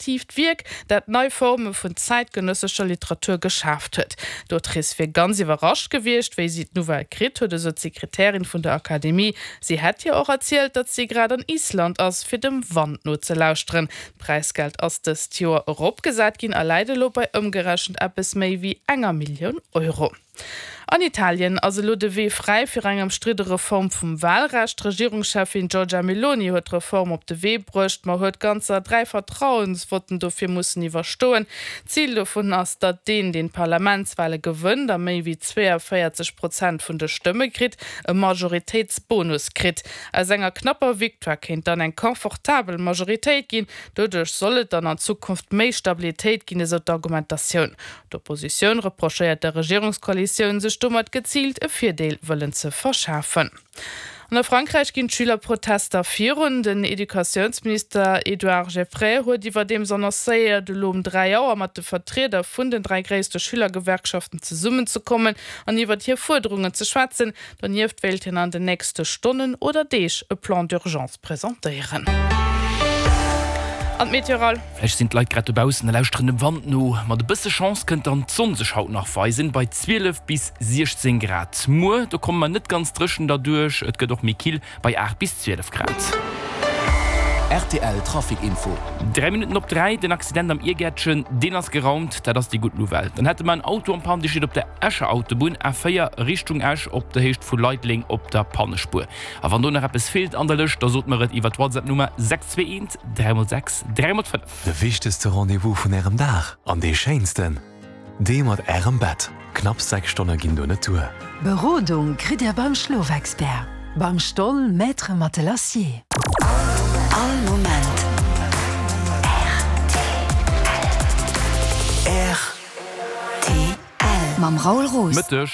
Tiivt Wierk, dat nei Forme vun zäitgenëssescher Literatur geschaaft huet. D'Autrice wier ganz iwwerrascht gewiescht, wéi si d'Nouvelle kritt huet, esou d'Sekretärin vun der Akademie. Si hätt hir och erzielt, datt si grad an Island ass, fir dem Wand nozelauschteren. D'Präisgeld ass dëst Joer eropgesat ginn a läit elo bei ëmgerechent eppes méi wéi enger Millioun Euro. An Italien ass elo de Wee fräi fir eng ëmstridde Reform vum Walrecht. D'Regierungscheffin Giorgia Meloni huet d'Reform op de Wee bruecht, ma huet ganzer 3 Vertrauensvotten dofir mussen iwwerstoen. Zil dovun ass, datt deen, deen d'Parlamentswale gewënnt a méi wéi 42 Prozent vun de Stëmme kritt, e Majoritéitsbonus kritt. Aus enger knapper Victoire kéint dann eng confortabel Majoritéit ginn. Doduerch soll et dann an Zukunft méi Stabilitéit ginn, esou d'Argumentatioun. D'Oppositioun reprochéiert der Regierungskoalitioun, sech domat geziilt e Virdeel wëllen ze verschafen. An a Frankräich ginn d'Schülerprotester virun. Den Educatiounsminister Edouard Geffray huet iwwerdeems annoncéiert, elo um 3 Auer mat de Vertrieder vun den 3 gréisste Schülergewerkschaften zesummenzekommen an iwwert hir Fuerderungen ze schwätzen. Donieft wéilt hien an den nächste Stonnen oder Deeg e Plan d'urgence presentéieren. An d'Meteoral. Vläicht sinn d'Leit grad dobaussen a lauschteren dem Wand no. Mat e bësse Chance kënnt dann d'Sonn sech haut nach weisen, bei 12 bis 16 Grad. Muer, do komme mer net ganz dréchen derduerch, et gëtt och méi kill, bei 8 bis 12 Grad. Rtl Trafic Info. 3 Minutten op 3, Den Accident am Iergäertchen, deen ass geraumt, dat ass déi gutt Nouvelle. Dann hätte mer en Auto en panne, dee steet op der Escher Autobunn, A4 Richtung Esch, op der Héicht vu Leideleng op der Pannespuer. A wann do nach eppes feelt an der Lëscht, da sot mer et iwwer d'Whatsapp-Nummer 621 3 x 6 3 x 5. De wichtegste Rendez-vous vun Ärem Dag an dee schéinsten, dee mat Ärem Bett. Knapps 6 Stonne ginn do net duer. Berodung kritt Dir beim Schlofexpert, beim Stoll Maître Matelassier. All Moment rtl. Mam Raoul Roos. Mëtteg.